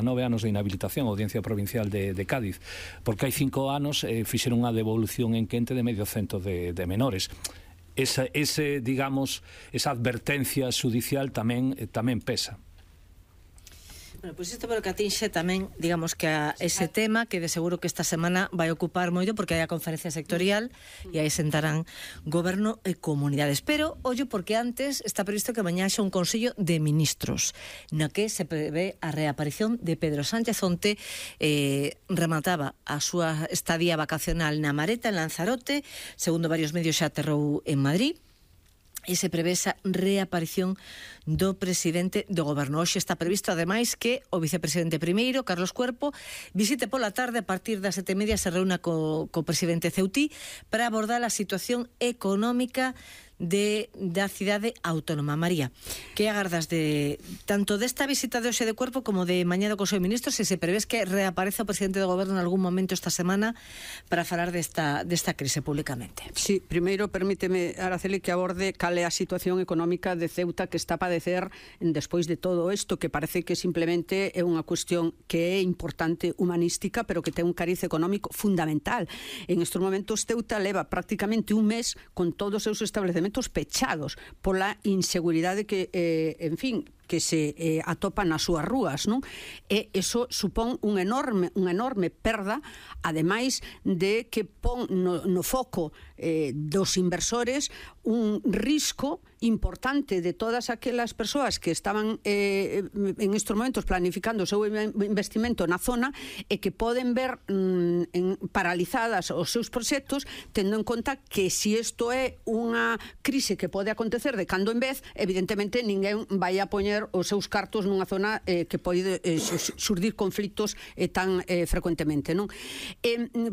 9 anos de inhabilitación a Audiencia Provincial de Cádiz, porque hai 5 anos fixeron unha devolución en quente de medio cento de menores. Esa advertencia xudicial tamén pesa. Bueno, pois isto pero que atinxe tamén, digamos que a ese tema que de seguro que esta semana vai ocupar moito porque hai a conferencia sectorial e aí sentarán goberno e comunidades. Pero, ollo, porque antes está previsto que mañá xa un Consello de Ministros na que se prevé a reaparición de Pedro Sánchez. Onte remataba a súa estadía vacacional na Mareta, en Lanzarote, segundo varios medios xa aterrou en Madrid, e se prevé esa reaparición do presidente do goberno. Hoxe está previsto, ademais, que o vicepresidente primeiro, Carlos Cuerpo, visite pola tarde, a partir das 7:30, se reúna co presidente ceutí para abordar a situación económica da cidade autónoma. María, que agardas tanto desta visita de hoxe de Cuerpo como de mañá do Consello de Ministros, se prevés que reapareza o presidente do goberno en algún momento esta semana para falar desta crise públicamente? Sí, primeiro permíteme, Araceli, que aborde cal é a situación económica de Ceuta que está a padecer despois de todo isto, que parece que simplemente é unha cuestión que é importante humanística, pero que ten un cariz económico fundamental. En estes momentos Ceuta leva prácticamente un mes con todos os seus establecementos pechados pola inseguridade que, en fin, que se atopan nas súas rúas, non? E iso supón unha enorme perda, ademais de que pon no foco dos inversores un risco importante de todas aquelas persoas que estaban en estes momentos planificando o seu investimento na zona e que poden ver paralizadas os seus proxectos, tendo en conta que se isto é unha crise que pode acontecer de cando en vez, evidentemente ninguén vai a poñer os seus cartos nunha zona que pode xurdir conflitos tan frecuentemente, non?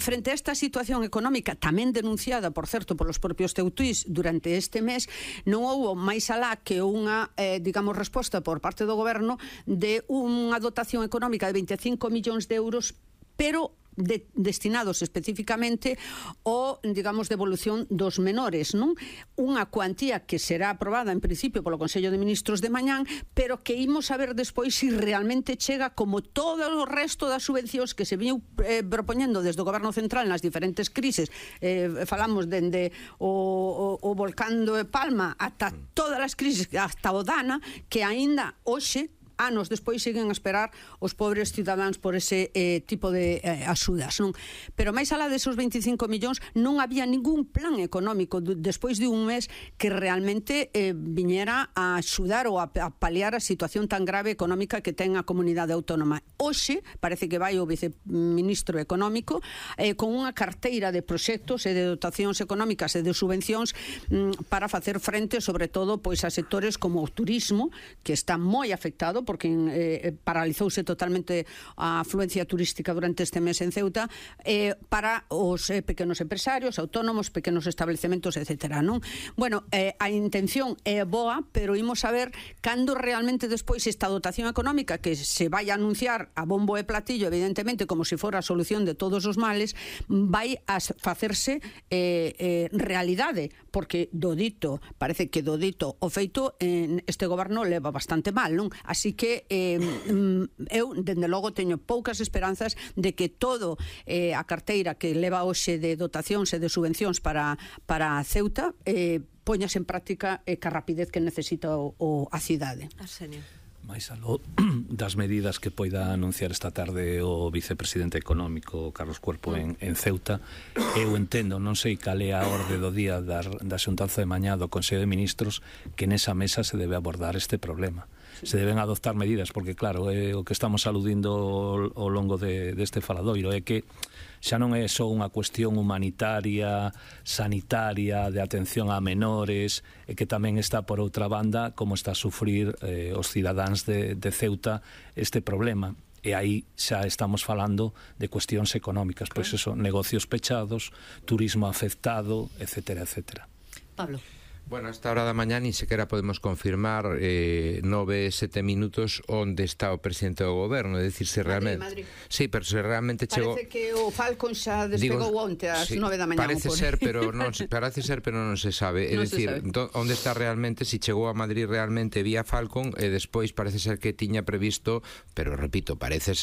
Frente a esta situación económica, tamén denunciada, por certo, polos propios ceutís durante este mes, non houbo máis alá que unha, resposta por parte do goberno de unha dotación económica de 25 millóns de euros, pero destinados especificamente ao, devolución dos menores, non? Unha cuantía que será aprobada en principio polo Consello de Ministros de mañán, pero que imos a ver despois se realmente chega, como todo o resto das subvencións que se viñeu propoñendo desde o Goberno Central nas diferentes crises. Falamos dende o volcán de Palma ata todas as crisis, hasta o Dana, que aínda hoxe, anos despois, siguen a esperar os pobres cidadáns por ese tipo de axudas, non? Pero máis alá desos 25 millóns non había ningún plan económico despois de un mes que realmente viñera a axudar ou a paliar a situación tan grave económica que ten a comunidade autónoma. Hoxe parece que vai o viceministro económico con unha carteira de proxectos e de dotacións económicas e de subvencións para facer frente, sobre todo, pois a sectores como o turismo, que está moi afectado porque paralizouse totalmente a afluencia turística durante este mes en Ceuta, para os pequenos empresarios, autónomos, pequenos establecementos, etcétera, non? Bueno, a intención é boa, pero imos a ver cando realmente despois esta dotación económica, que se vai a anunciar a bombo e platillo, evidentemente, como se fora a solución de todos os males, vai a facerse realidade, porque parece que do dito o feito este goberno leva bastante mal, non? Así que eu, dende logo, teño poucas esperanzas de que todo a carteira que leva hoxe de dotacións e de subvencións para Ceuta poñas en práctica ca rapidez que necesita a cidade. Arsenio. máis aló das medidas que poida anunciar esta tarde o vicepresidente económico Carlos Cuerpo en Ceuta, eu entendo, non sei cal é a orde do día da xuntanza de mañá do Consello de Ministros, que nesa mesa se debe abordar este problema. Se deben adoptar medidas, porque claro, o que estamos aludindo ao longo deste faladoiro é que xa non é só unha cuestión humanitaria, sanitaria, de atención a menores, e que tamén está por outra banda como está a sufrir os cidadáns de Ceuta este problema. E aí xa estamos falando de cuestións económicas, pois eso, negocios pechados, turismo afectado, etcétera, etcétera. Pablo. Bueno, a esta hora da mañá ni sequera podemos confirmar 9-7 minutos onde está o presidente do goberno, é dicir, se realmente... Madrid. Sí, pero se realmente chegou... Parece que o Falcon xa despegou onte ás 9 da mañá. Parece ser, pero non se sabe. É dicir, onde está realmente, se chegou a Madrid realmente vía Falcon, e despois parece ser que tiña previsto, pero repito, parece ser